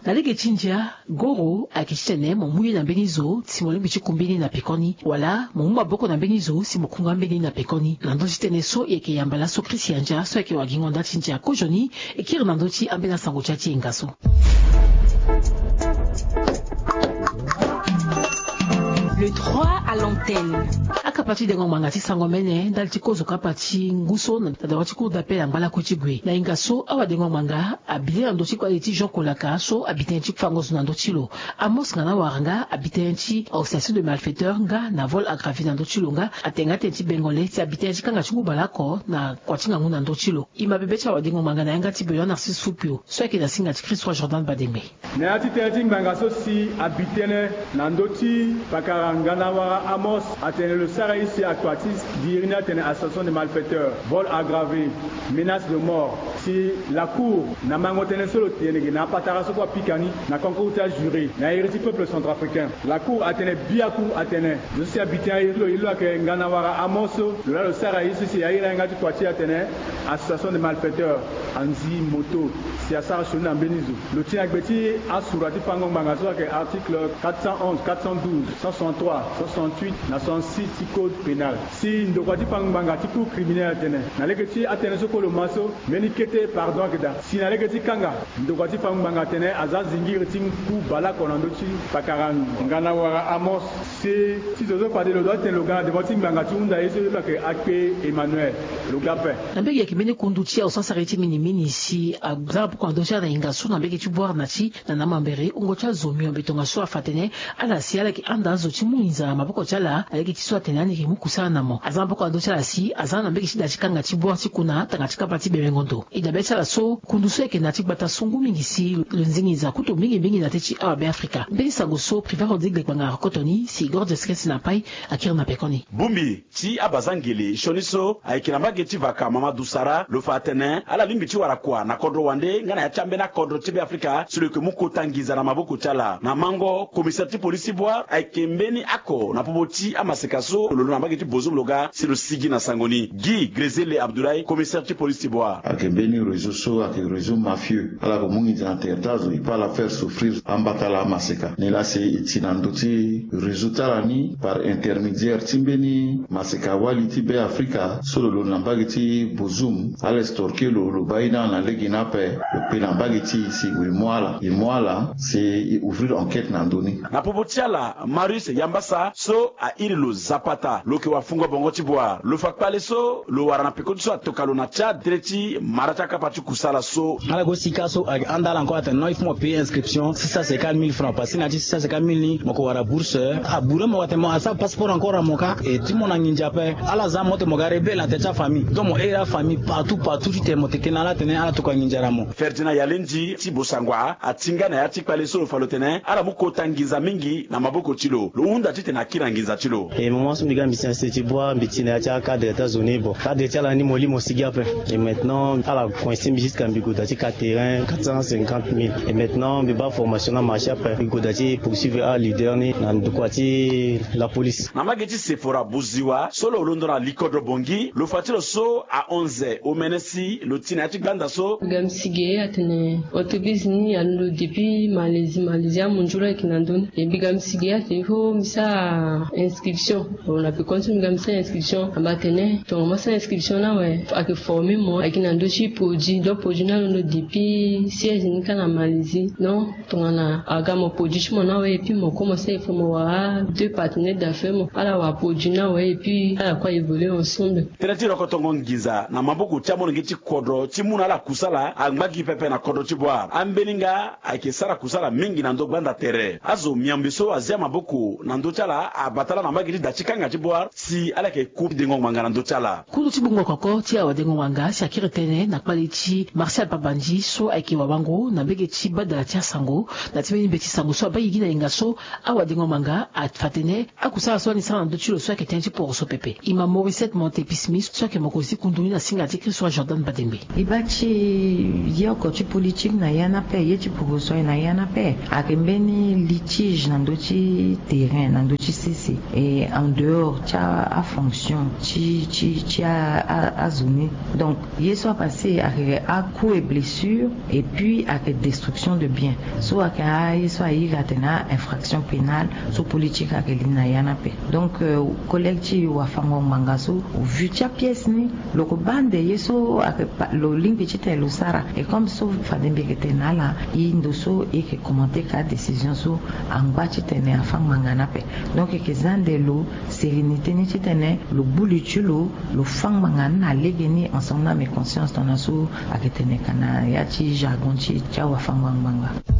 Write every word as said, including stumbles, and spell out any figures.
Na lege ti ndia, goro ayeke titene mo mu ye na mbeni zo si mo lingbi ti ku mbeni na pekoni, wala mo mu maboko na mbeni zo si mo ku nga mbeni na pekoni. Na ndö ti tënë so e yeke yamba laso Christian Dia so ayeke wagingo nda ti ndia kozoni, e kiri na ndö ti ambeni asango ti ya ti e nga so. Le trois à l'antenne. Akapa ti dengo ngbanga ti sango mene ndali ti kozo kapa ti ngu so na dawa ti cour d'appel angba lakue ti gue. Na hinga so awadengo ngbanga abi tënë na ndö ti kpale ti Jean Kolaka so abi tënë ti fango zo na ndö ti lo. Amos Ngana Waranga abi tënë ti association de malfaiteurs nga na vol aggravé na ndö ti lo nga atene nga tënë ti bengo le si abi tënë ti kanga ti ngu baleoko na kua ti ngangu na ndö ti lo. E ma bebe ti awadengo ngbanga na yanga ti Benoît Narcisse Fupio so ayeke na singa ti Christ Roi Jordan Badembe. Na ya ti tënë ti ngbanga so si abi tënë na ndö ti pakara Ngana Wara Amos atene lo sara ye si akua ti diri ni atene association de malfaiteurs, vol aggravé, menace de mort. Si la cour na mango tënë so lo tene ge na apatara so kue apika ni na concours ti ajuré na iri ti peuple centrafricain. La cour atene biaku atene zo so si abi tënë aye ti lo, ye ti lo ayeke Ngana Wara Amos, lo laa lo sara ye so si aye na yanga ti kua ti e atene association de malfaiteurs, anzi moto, si asara sioni na mbeni zo. Lo ti na gbe ti asura ti fango ngbanga so ayeke article quatre cent onze, quatre cent douze, cent soixante-trois, cent soixante-huit na soixante-six ti code pénal. Si ndokua ti fango ngbanga ti cour criminel atene na lege ti atënë so kue lo ma so, mbeni kete pardon ayeke daa. Si na lege ti kanga, ndokua ti fango ngbanga atene aza zingiri ti ngu baleoko na ndö ti pakara Ngana Wara Amos. Si ti zo so fade lo dua ti tene lo ga na devant ti ngbanga ti hunda ye so, ye lo ayeke akpe Emmanuel. Lo ga ape. Na mbege ayeke mbeni kundu ti aosasare ti minimini si aza na poko na ndö ti ala na hinga so na mbege ti Bouar na ti na na mambere wungo ti azo miombe tongaso afa atene ala si ala yeke handa azo ti mu nginza na maboko ti ala na lege ti so atene ani yeke mu kusala na mo. Aza na maboko na ndö ti ala si aza na mbege ti da ti kanga ti Bouar ti kuna tanga ti kapa ti Bemengondo. E dabe ti ala so kundu so ayeke na ya ti gbata so ngu mingi si lo zingi nginza kutu mingi mingi na teti awa Beafrika. Mbeni sango so Privat Rodrigue Lekpanga arokoto ni si Gordias Kesi na Pai akiri na pekoni. Bongbi ti abazangele sioni so ayeke na mbage ti vaka Mamadou Sara lo fa atene ala lingbi ti wara kua na kodro wande nga na ya ti ambeni akodro ti Beafrika si lo yeke mu kota nginza na maboko ti ala. Na mango, commissaire ti polisi ti Bouar ayeke mbeni oko na popo ti amaseka so lo londo na mbage ti Bozoum lo ga si lo sigi na sango ni. Guy Grezele Abdoulaye, commissaire ti polisi ti Bouar. Ayeke mbeni réseau so ayeke réseau mafieux. Ala yeke mu nginza na tere ti azo, e peut ala faire souffrir ambata ala amaseka. Nilaa si e ti na ndö ti réseau ti ala ni par intermédiaire ti mbeni maseka wali ti Beafrika so lo londo na mbage ti Bozoum, ala extorquer lo, lo baa ye ni ala na lege ni ape, lo kpe na mbage ti e si e mu ala, e mu ala si e ouvrir enquête na ndö ni. Na popo ti ala, Marius Yambasa so a iri lo Zapata, lo yeke wafungo bongo ti Bouar, lo fa kpale so lo wara na peko ti so atoka lo na Tchad tere ti mara ti akapa ti kusala so. Ala go sika so ayeke handa ala encore atene non, il faut mo payer inscription six cent cinquante mille francs, parce que na ya ti six cent cinquante mille ni mo yeke wara bourse. Abure mo atene mo asara passeport encore na mo kâ. E ti mo na nginza ape. Ala za mo ti mo ga rebelle na tere ti afamille. Donc mo iri afamille partout partout titene mo tene na ala atene ala tokua nginza na mo. Ferdinand Yalendi ti Bossangoa atinga na ya ti kpale so lo fa lo tene ala mu kota nginza mingi na maboko ti lo. Lo hunda titene akiri na nginza ti lo. E moment so mbi ga mbi si na sese ti Bouar, mbi ti na ya ti acadre ti azo ni. Bon, cadre ti ala ni mo li mo sigi ape. Et maintenant ala coincer mbi jusqu'à mbi gue daa ti ka terrain quatre cent cinquante mille. Et maintenant mbi baa formation ni amarché ape, mbi gue daa ti poursuivre aleader ni na ndokua ti la police. Na mbage ti Sephora Boziwa so lo londo na likodro Bangui, lo fa ti lo so ahon omene si lo ti na ya ti gbanda so. Mbi ga mbi sigi ye atene entreprise ni alondo depuis Malaisie, Malaisie amunzu lo ayeke na ndö ni. E mbi ga mbi sigi ye atene il faut mbi sara inscription. Bon, na pekoni so mbi ga mbi sara inscription, amba atene tongana mo sara inscription ni awe, ayeke former mo ayeke na ndö ti produit. Donc produit ni alondo depuis siège ni kâ na Malaisie. Donc tongana aga mo produit ti mo ni awe, et puis mo kue mo sara, il faut mo wara deux partenaires d'affaires, mo ala wara produit ni awe, et puis ala kue a évoluer ensemble. Tënë ti rokotongo nginza na maboko ti amolenge ti kodro ti mu na ala kusala angba gi pepe na kodro ti Bouar. Ambeni nga ayeke sara kusala mingi na ndö gbanda tere. Azo miombe so azia maboko na ndö ti ala abata ala na mbage ti da ti kanga ti Bouar si ala yeke ku dengo ngbanga na ndö ti ala. Kundu ti bungo koko ti awadengo ngbanga si akiri tënë na kpale ti Martial Pabandji so ayeke wabango na mbage ti badala ti asango na ti mbeni mbeti sango so abaa gigi na yinga so awadengo ngbanga afa tene akusala so ani sara na ndö ti lo so ayeke tënë ti poroso pepe. E ma Mauricette Montepie Smith so ayeke mokonzi ti kundu ni na singa ti Christ Roi Jordan Badembe. E baa ti ye oko ti politique na ya ni ape, ye ti poroso aye na ya ni ape. Ayeke mbeni litige na ndö ti terrain, na ndö ti sese. Et en dehors ti a, afonction ti, ti, ti a, a, azo ni. Donc ye so apasse Ayeke a coups et blessures et puis ayeke destruction de biens. So ayeke aye so aye iri atene a infraction pénale so politique ayeke li na ya ni ape. Donc collègue ti wafango ngbanga so, vu ti apièce ni, lo yeke baa nde ye so ayeke lo lingbi titene lo sara. Et comme so fade mbi yeke tene na ala, e ndo so e yeke commenter ka décision so angba titene afa ngbanga ni ape. Donc e yeke za nde lo sérénité ni titene lo gbu li ti lo, lo fa ngbanga ni na lege ni ensemble na ameconscience tongana so ayeke tene ka na ya ti jargon ti ti awafango ngbanga.